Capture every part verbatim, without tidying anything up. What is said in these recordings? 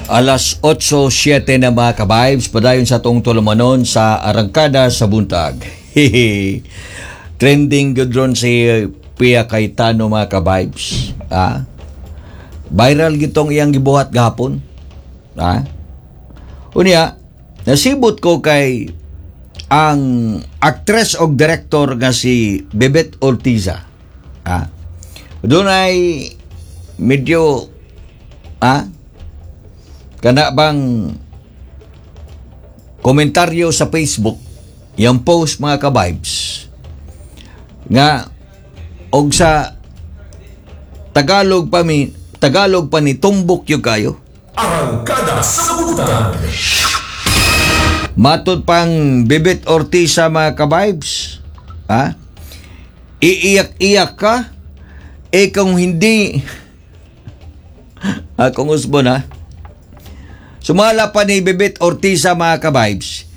Alas otso siyete na, mga ka-vibes, padayon sa atong tulumanon sa Arangkada sa Buntag. Hehe. Trending gud ron si Pia Cayetano, mga ka-vibes. Ah? Viral gitong iyang gibuhat gahapon. Ah? Unya, nasibot ko kay ang actress o director nga si Bebeth Ortiza. Ah? Dunay medyo ah kana bang komentaryo sa Facebook, yung post, mga ka-vibes, nga og sa Tagalog pa mi Tagalog pa ni tumbok yung kayo. Arangkada sa Buntag. Matod pang Bebeth Ortiza, mga ka-vibes, ha, iiyak-iyak ka eh kung hindi akong usbon ha. Sumala pa ni Bebeth Ortiza, mga ka-vibes,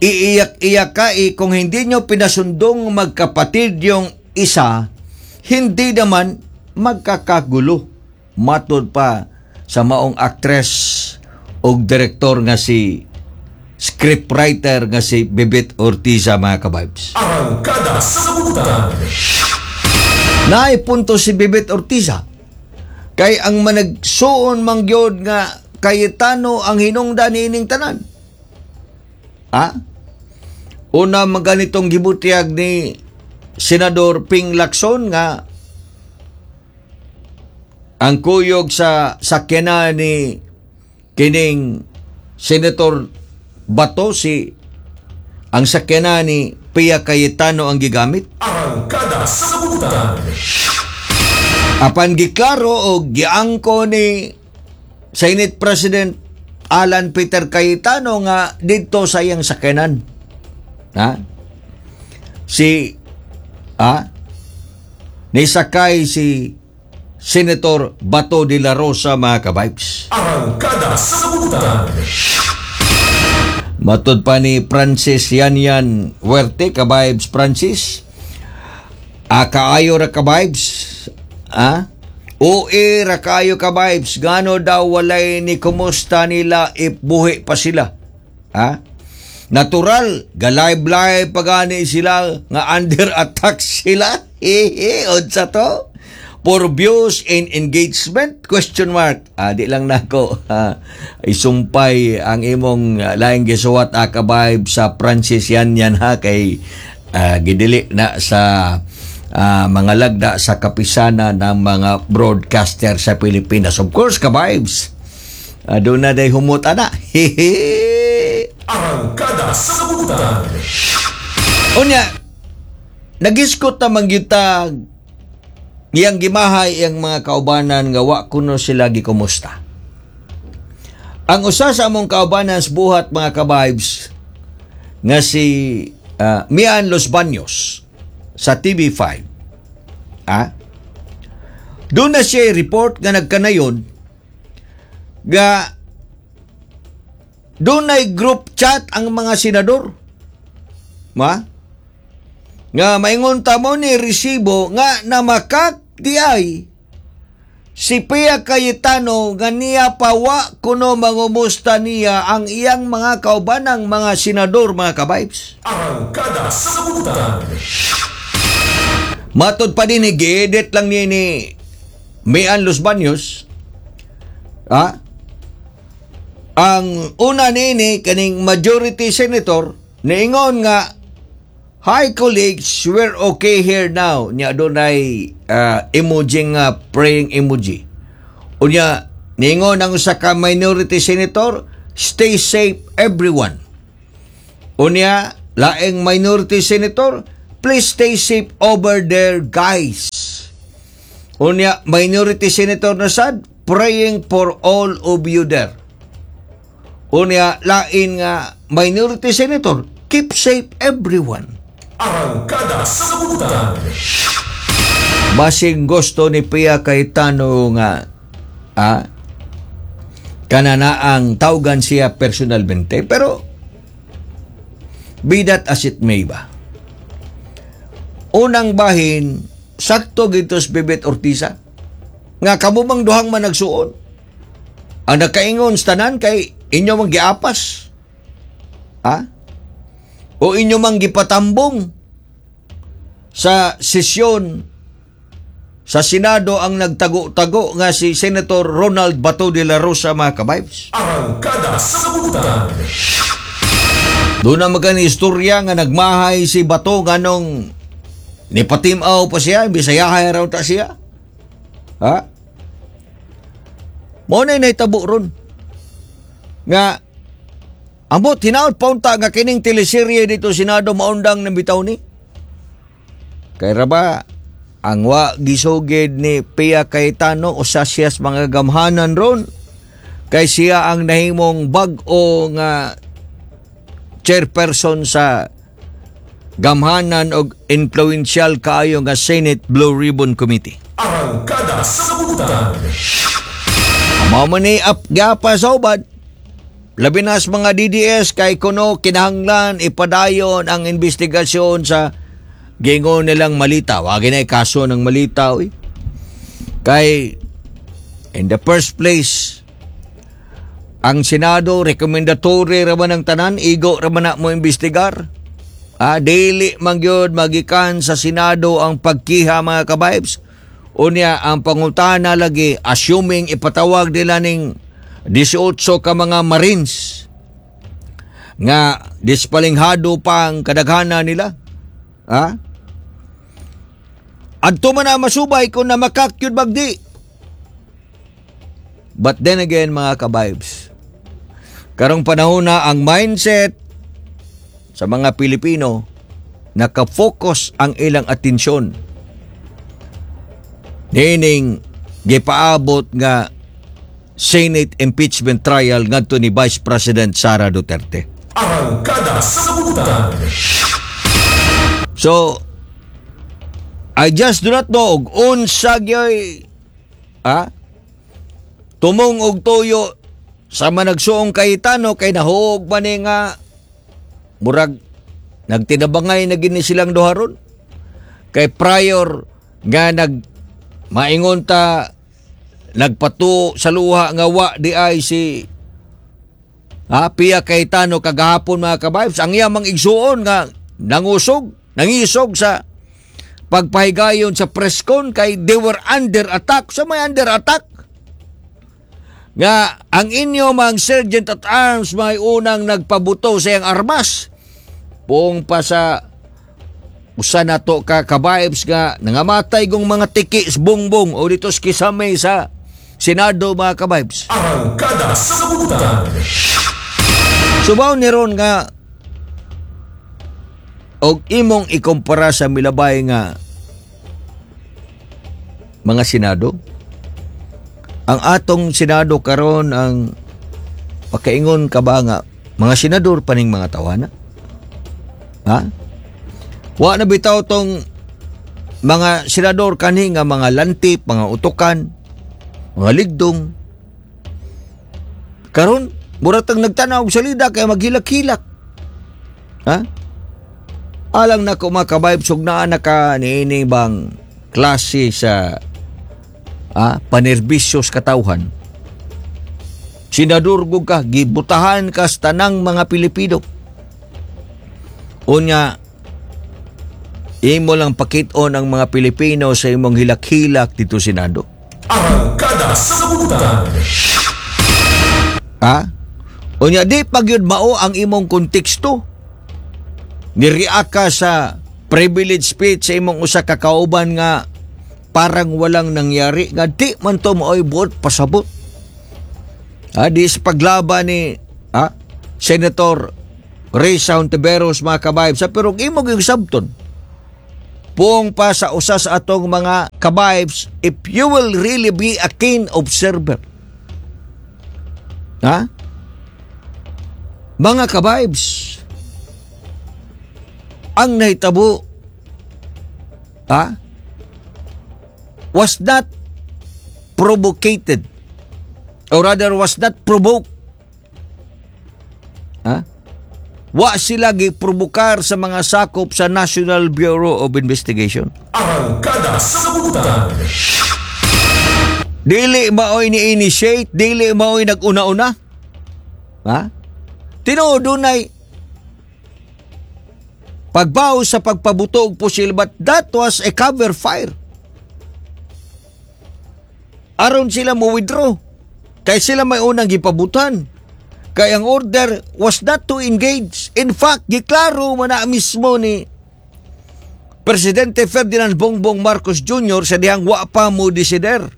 iiyak-iyak ka eh kung hindi nyo pinasundong magkapatid yung isa, hindi naman magkakagulo. Matod pa sa maong actress o direktor nga si scriptwriter nga si Bebeth Ortiza, mga ka-vibes. Arangkada sa Buntag. Naay punto si Bebeth Ortiza. Kay ang managsuon mangyod nga Cayetano ang hinungdan niining tanan. Ha? Una man ganitong gibutyag ni Senador Ping Lacson nga ang kuyog sa sakyanan ni kining Senator Bato, si ang sakyanan ni Pia Cayetano ang gigamit. Arangkada sa Buntag. Apan giklaro o giangko ni Senate President Alan Peter Cayetano nga didto sa iyang sakyanan. Ha? Si ah nisakay si Senator Bato de la Rosa, mga ka-vibes. Arangkada sa Buntag. Matod pa ni Francis Yanyan Huerte, ka-vibes Francis. Ah, kaayo ra, ka-vibes. Ah? U I ra kayo, ka-vibes. Gano daw walay ni kumusta nila if buhi pa sila? Ha? Natural, ga-live-live pa gani sila nga under attack sila. Hehe, unsa to? For views and engagement? Question mark. Ah, di lang nako ah, isumpay ang imong ah, laing gisuwat, ah, ka-vibe sa Francis yan yan ha, kay ah, gidili na sa ah, mga lagda sa kapisanan ng mga broadcaster sa Pilipinas. Of course, ka-vibes. Uh, doon na day humot ana. Hehe. Arangkada sa Buntag. Unya, nagiskot naman kita iyang gimahay iyang mga kaubanan nga wa kuno sila gikumusta. Ang usa sa among kaubanan sa buhat, mga ka-vibes, nga si ah, Mian Los Baños sa T V five. Ah? Doon na siya report nga nagkanayon nga doon ay group chat ang mga senador. Ma? Nga maingon ta mo ni resibo nga namakak di ay si Pia Cayetano nga niya pa wa kuno mangumusta niya ang iyang mga kaubanang mga senador, mga ka-vibes. Arangkada sa Buntag. Matod pa din ni gi-edit lang ni ni Mian Los Baños. Ah? Ang una nini kaning majority senator niingon nga, "Hi colleagues, we're okay here now." Nya dunay uh, emoji nga praying emoji. Unya niingon ang usa ka minority senator, "Stay safe everyone." Unya laing minority senator, "Please stay safe over there, guys." Unya minority senator na sad, "Praying for all of you there." Unya lain nga minority senator, "Keep safe everyone." Arangkada sa Buntag. Basing gusto ni Pia Cayetano nga ah, kananaang tawgan siya personalmente, pero be that as it may ba, unang bahin, sakto gitos Bebeth Ortiza nga kamo mang duhang managsuon. Ang nakaingon sa tanan kay inyo mang giapas. Ha? O inyo mang gipatambong sa sesyon sa Senado ang nagtago-tago nga si Senator Ronald Bato de la Rosa, mga kabibes. Arangkada sa Butan. Doon na magani istorya nga nagmahay si Bato nganong nipatimaw pa siya, bisayahay raw ta siya. Ha? Mao na nahitabo ron. Nga ambot hinaot paunta nga kining teleserye dito Senado maundang ng bitaw ni. Kay ra ba ang wa gisugid ni Pia Cayetano usa siya sa mga gamhanan ron kay siya ang nahimong bag-o nga chairperson sa gamhanan og influential kaayo nga Senate Blue Ribbon Committee. Arangkada sa Butan. Mao man ni ap gapa sa ubad. Labi na sa mga D D S kay kuno kinahanglan ipadayon ang investigasyon sa gingon nilang malita. Wagi na kaso ng malita, uy. Kay in the first place, ang Senado rekomendatory ra man ang tanan, igo ra man na mo imbestigar. Ah, dili man gyud magikan sa Senado ang pagkiha, mga kabibes. Unya ang pangutana lagi, assuming ipatawag nila ning labing-anim ka mga Marines nga dispalinghado pa ang kadaghana nila. Ha? Adto man na masubay kung na makakyud bagdi. But then again, mga kabibes, karong panahon na ang mindset sa mga Pilipino, nakafocus ang ilang atensyon nining gipaabot nga Senate impeachment trial ngadto ni Vice President Sara Duterte. Arangkada sa Butan. So, I just do not know og unsa gyoy ah tumong og tuyo sa managsuong Cayetano kay nahuog man ni nga murag nagtinabangay na gini silang duha ron. Kay prior nga nag maingon ta nagpatuo sa luha nga wa di ay si ha, Pia Cayetano kagahapon, mga kabibes, ang iyang mang igsuon nga nangusog, nangisog sa pagpahigayon sa press con kay they were under attack. Sa may under attack nga ang inyo mang sergeant at arms may unang nagpabuto sa iyang armas buong pa sa usa nato ka kabibes nga nangamatay gong mga tiki sa bongbong o dito sa kisame sa Senado, mga kabibes. Arangkada sa Butan. Subaw ni ron nga og imong ikumpara sa milabay nga mga Senado. Ang atong Senado karon, ang pakaingon ka ba nga mga senador paning mga tawana? Ha? Wa na bitaw tong mga senador kanhi nga mga lantip, mga utukan, mga ligdong. Karon, mura tang nagtanaw og salida kay maghilak-hilak. Ha? Alang na ko, mga kabibes, ug naa na ka niini bang klase sa ah, panerbisyo sa katawhan. Senador gug ka, gibutahan ka sa tanang mga Pilipino. Unya, imo lang pakit-on ang mga Pilipino sa imong hilak-hilak dito Senado. Arangkada sa Butan. Ha? Unya di pag yun mao ang imong konteksto. Nireact ka sa privilege speech sa imong usa ka kauban nga parang walang nangyari nga di man to mao'y buot pasabot. Ha, di sa paglaban ni ha, Senator Risa Hontiveros, mga kabibes, sa pero imo gyud sabton. Puong pa sa usa sa atong mga kabibes, if you will really be a keen observer. Ha? Mga kabibes, ang nahitabo ha, was not provocated or rather was not provoked. Ha? Wa sila giprobokar sa mga sakop sa National Bureau of Investigation. Arangkada sa Butan. Dili maoy ni-initiate, dili maoy nag-una-una. Ha? Tinuod dunay pagbaw sa pagpabuto og pusil, but that was a cover fire. Aron sila mo withdraw. Kay sila may unang gipabutan. Kay ang order was not to engage. In fact, giklaro man na mismo ni Presidente Ferdinand Bongbong Marcos Junior sa dihang wa pa mo desider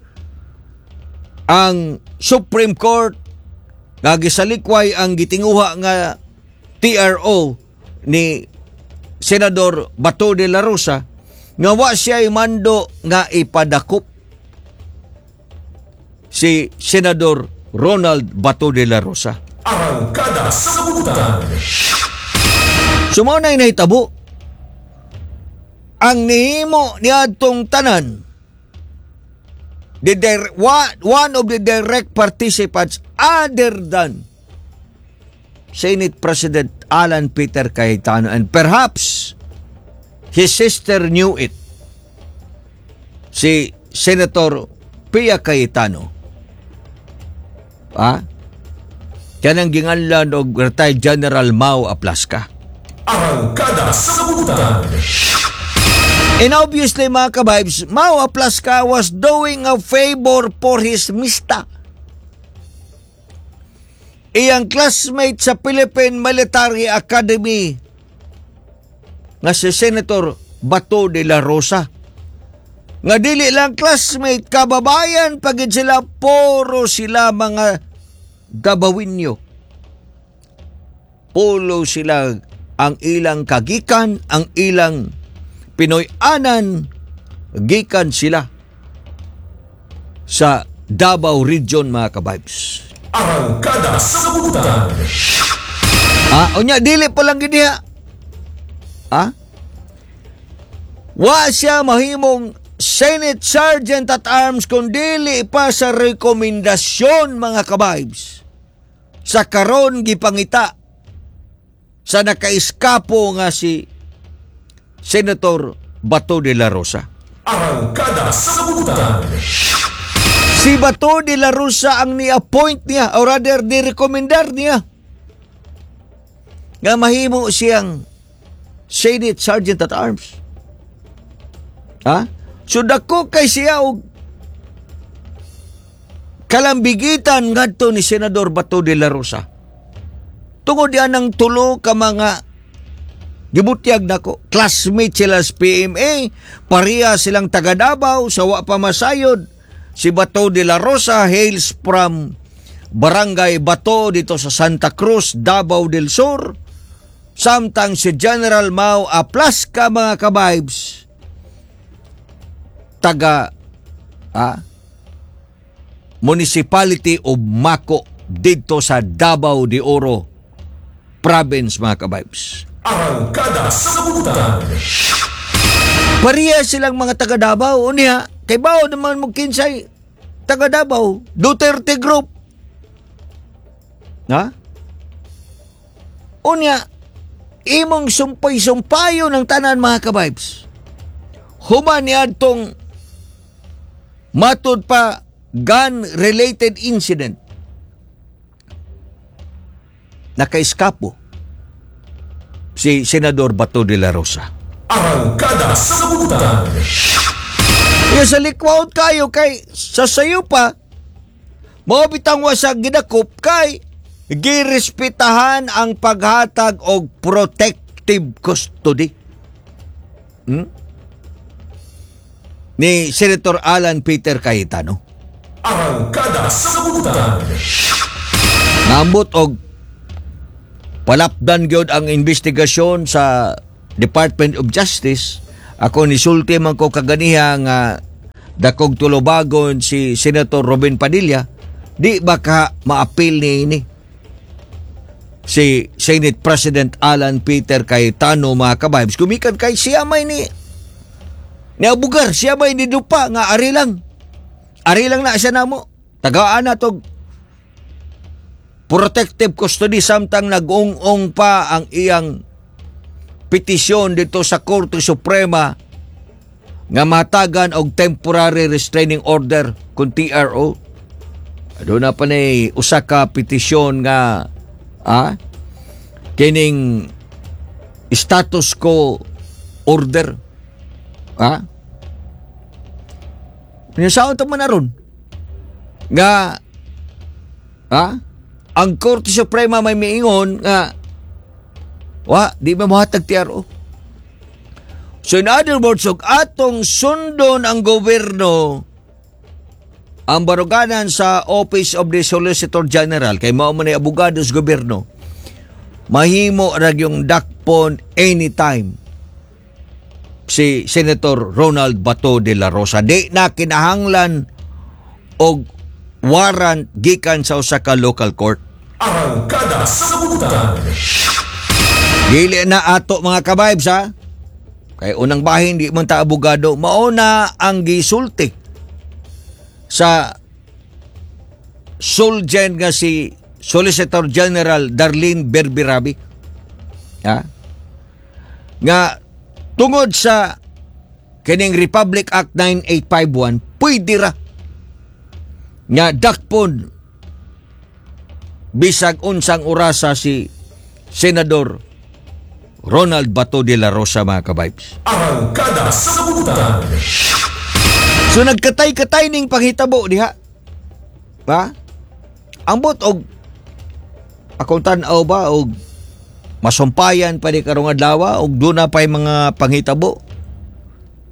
ang Supreme Court nga gisalikway ang gitinguha nga T R O ni Senador Bato de la Rosa nga wa siya mando nga ipadakop si Senador Ronald Bato de la Rosa. Arangkada sa Kabutan. So mao na nahitabo. Ang nihimo niadtong tanan, the dir- one, one of the direct participants other than Senate President Alan Peter Cayetano, and perhaps his sister knew it, si Senator Pia Cayetano, ah, kanang ginganlan og retired General Mao Aplasca. Arangkada sa Kabutan. And obviously, mga kabibes, Mao Aplasca was doing a favor for his mista. Iyang classmate sa Philippine Military Academy nga si Senator Bato de la Rosa. Nga dili lang classmate, kababayan pagid sila, puro sila mga Dabawinyo. Puro sila ang ilang kagikan, ang ilang Pinoy-anan, gikan sila sa Davao Region, mga kabibes. Arangkada sa Kabutan. Ah, unya dili pa lang gid diha. Ah? Wa siya mahimong Senate Sergeant at Arms kung dili pa sa rekomendasyon, mga kabibes, sa karon gipangita sa nakaiskapo nga si Senator Bato de la Rosa. Arangkada sa Kabutan. Si Bato de la Rosa ang ni-appoint niya or rather ni-rekomendar niya nga mahimo siyang Senate Sergeant at Arms. Ha? So dako kay siya og kalambigitan ngadto ni Senador Bato de la Rosa. Tungod yan ang tulo ka mga gibutyag nako. Classmate sila sa P M A, pareha silang taga Davao sa wa pa masayod. Si Bato de la Rosa hails from Barangay Bato dito sa Santa Cruz, Davao del Sur. Samtang si General Mao Aplasca, mga kabibes, taga ah, Municipality of Maco dito sa Davao de Oro Province, mga kabibes. Arangkada sa Kabutan. Pareha silang mga taga Davao. Unya, kay bao naman mo kinsay taga Davao, Duterte Group. Ha? Unya, imong sumpay-sumpayo ng tanan, mga kabibes. Human niadtong matud pa gun-related incident, nakaiskapo si Senador Bato de la Rosa. Arangkada sa Kabutan. Yung sa likwawt kayo kay sa sayo pa, mao bitang wa sa gidakop kay girespetahan ang paghatag og protective custody Hmm? Ni Senator Alan Peter Cayetano. Arangkada sa Kabutan. Naambot og palapdan gyud ang investigasyon sa Department of Justice. Ako nisulti man ko kaganiha nga dakog tulubagon si Senator Robin Padilla, di ba ka maapil ni ini si Senate President Alan Peter Cayetano, mga kabibes, gumikan kay siya may ni niabugar, siya may ni dupa nga ari lang ari lang na siya namo tagaan na tog protective custody samtang nag-ung-ong pa ang iyang petisyon dito sa Korte Suprema. Nga matagan og temporary restraining order kung T R O. Doon na pa ni usa ka petisyon nga ah, kining status quo order. Ah? Nya saon ta man aron? Nga ah, ang Korte Suprema may miingon nga wa di ba mohatag T R O. So in other words, og atong sundon ang gobyerno, ang baruganan sa Office of the Solicitor General, kay mao man ay abogado sa gobyerno, mahimo ra yung dakpon anytime si Senator Ronald Bato de la Rosa. Di na kinahanglan og warrant gikan sa usa ka local court. Arangkada sa Butan. Dili na ato, mga ka-vibes, ha. Kay unang bahin, di man ta abogado, mao na ang gisulti sa Solgen nga si Solicitor General Darlene Berberabi. Ha? Nga tungod sa kining Republic Act nine eight five one, pwede ra nga dakpon bisag unsang orasa si Senador Ronald Bato de la Rosa, mga ka-vibes. Arangkada sa Butan. So nagkatay-katay ning panghitabo diha. Ha? Ambot og akong tan-aw ba og masumpayan pa ni karong adlaw og duna pay mga panghitabo.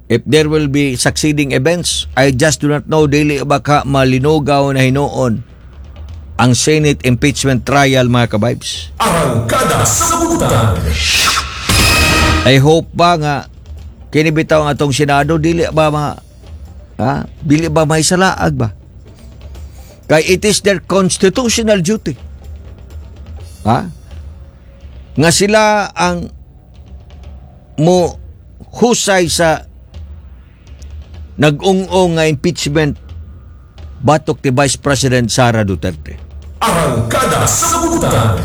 If there will be succeeding events, I just do not know, dili ba ka malinugaw na hinuon ang Senate impeachment trial, mga ka-vibes. Arangkada sa Butan. I hope ba nga kini bitaw ang atong Senado, dili ba ma ha? Dili ba may salaag ba? Kay it is their constitutional duty. Ha? Nga sila ang mo husay sa nag-ung-ung nga impeachment batok ni Vice President Sara Duterte. Arangkada sa Butan.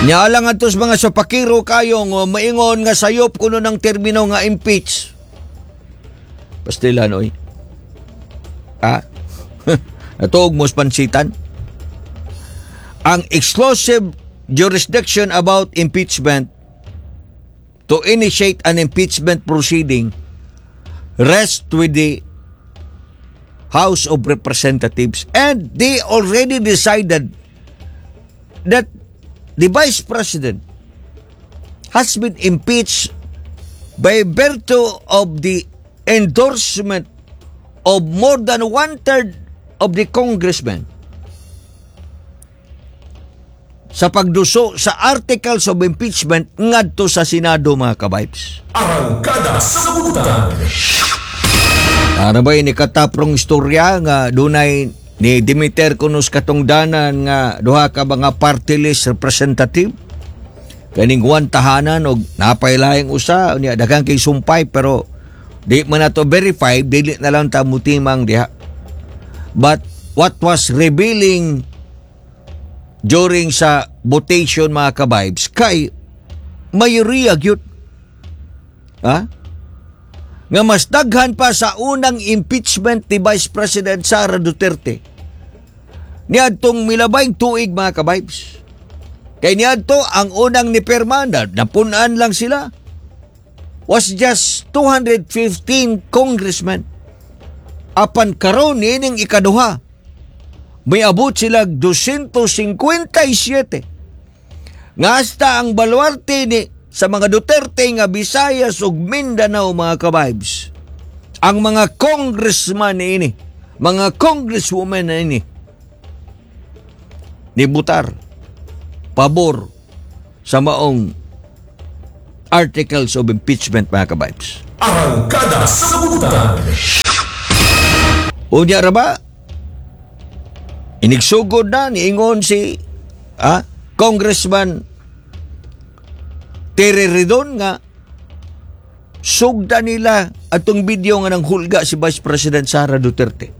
Nya alang atos mga sapakiro kayong oh, maingon nga sayop kuno ng termino nga impeach. Pastilan oy. Ah? Natuog mo sa pansitan? Ang exclusive jurisdiction about impeachment, to initiate an impeachment proceeding, rests with the House of Representatives, and they already decided that the Vice President has been impeached by virtue of the endorsement of more than one-third of the congressmen sa pagduso sa articles of impeachment ngadto sa Senado, mga ka-vibes. Arangkada sa Butan. Ano ba ni kataprong istorya nga dunay ni Dimiter kunos katungdanan nga duha ka mga party list representative kaning one tahanan og napaylayang usa unya daghan kay sumpay, pero di man nato verify, dili na lang ta mutimang diha. But what was revealing during sa votation, mga ka-vibes, kay mayoriya gyud, ha, nga mas daghan pa sa unang impeachment ni Vice President Sara Duterte niadtong milabayng tuig, mga ka-vibes. Kay niadto ang unang ni pirma na napunan lang sila was just two hundred fifteen congressmen. Apan karon, niining ikaduha, may abot sila two hundred fifty-seven. Nga hasta ang baluarte ni sa mga Duterte nga Visayas ug Mindanao, mga ka-vibes. Ang mga congressman ini, mga congresswoman na ini, ni butar pabor sa maong articles of impeachment, mga ka-vibes. Arangkada sa Butan. Unya ra ba? Inigsugod na niingon si ah, Congressman Terry Ridon nga sugda nila atong video nga nang hulga si Vice President Sara Duterte.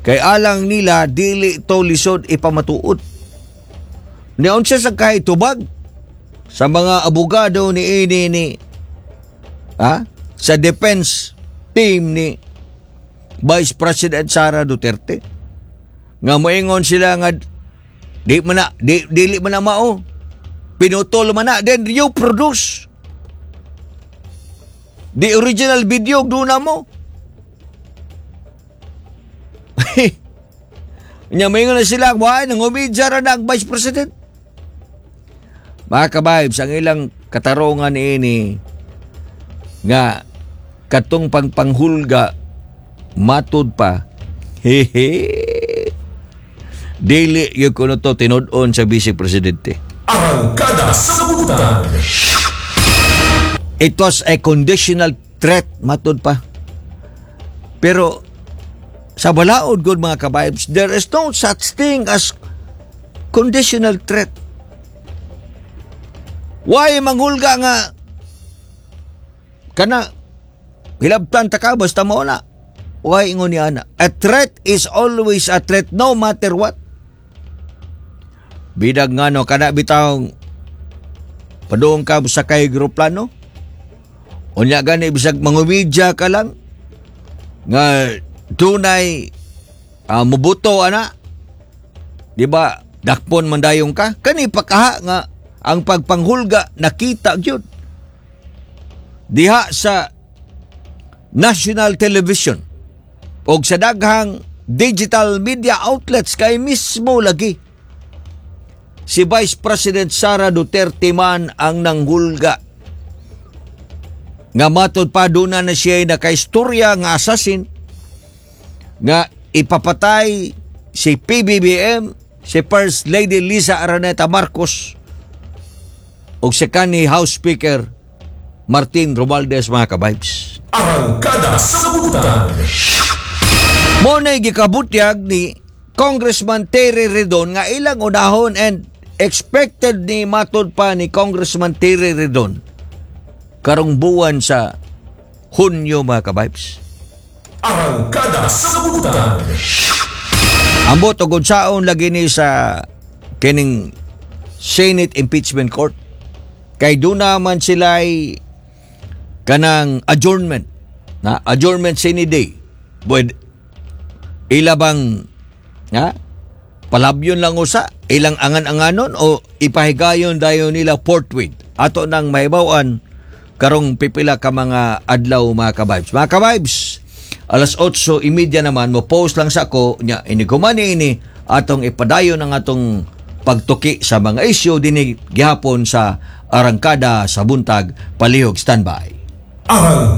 Kay alang nila, dili to lisod ipamatuod. Niunsa sa kahit tubag sa mga abogado ni ini ni ha? Sa defense team ni Vice President Sara Duterte. Nga moingon sila nga di man na di, dili man na mao. Pinutol man na, then you produce the original video, duna mo. Nya moingon na sila, why nangumidya ra na ang Vice President. Mga ka-vibes, ang ilang katarungan ini nga katong pangpanghulga, matud pa, hehe, dili gyud kuno to tinud-on sa Vice Presidente. Arangkada sa Buntag. It was a conditional threat, matud pa. Pero sa balaod gud, mga ka-vibes, there is no such thing as conditional threat. Why manghulga nga kana hilabtan ta ka basta mao na? Why ingon niya ana? A threat is always a threat, no matter what. Bidag nga no, kana bitawng padung ka sa kay eroplano. Unya gani bisag mangumidya ka lang nga dunay uh, mubuto ana. Di ba? Dakpon man dayon ka. Kani pakaha nga ang pagpanghulga nakita gyud diha sa national television og sa daghang digital media outlets, kay mismo lagi si Vice President Sara Duterte man ang nanghulga nga matod pa duna na siya nakaistorya nga assassin nga ipapatay si P B B M, si First Lady Lisa Araneta Marcos ug si kanhi House Speaker Martin Romualdez, mga ka-vibes. Arangkada sa Buntag. Mao na gikabutyag ni Congressman Terry Ridon nga ilang unahon and expected ni matod pa ni Congressman Terry Ridon karong buwan sa Hunyo, mga ka-vibes. Arangkada sa Buntag. Ambot og unsaon lagi ni sa kining Senate Impeachment Court. Kay duna man sila ay kanang adjournment na adjournment sine die. Pwede ila bang nga palabyon lang usa ilang angan-anganon o ipahigayon dayon nila forthwith? Ato nang mahibaw-an karong pipila ka mga adlaw, mga ka-vibes. Mga ka-vibes, alas otso trenta naman mo post lang sa ako nya inigumani ini atong ipadayon ang atong pagtuki sa mga isyu dinhi gihapon sa Arangkada sa Buntag. Palihog standby. Arangkada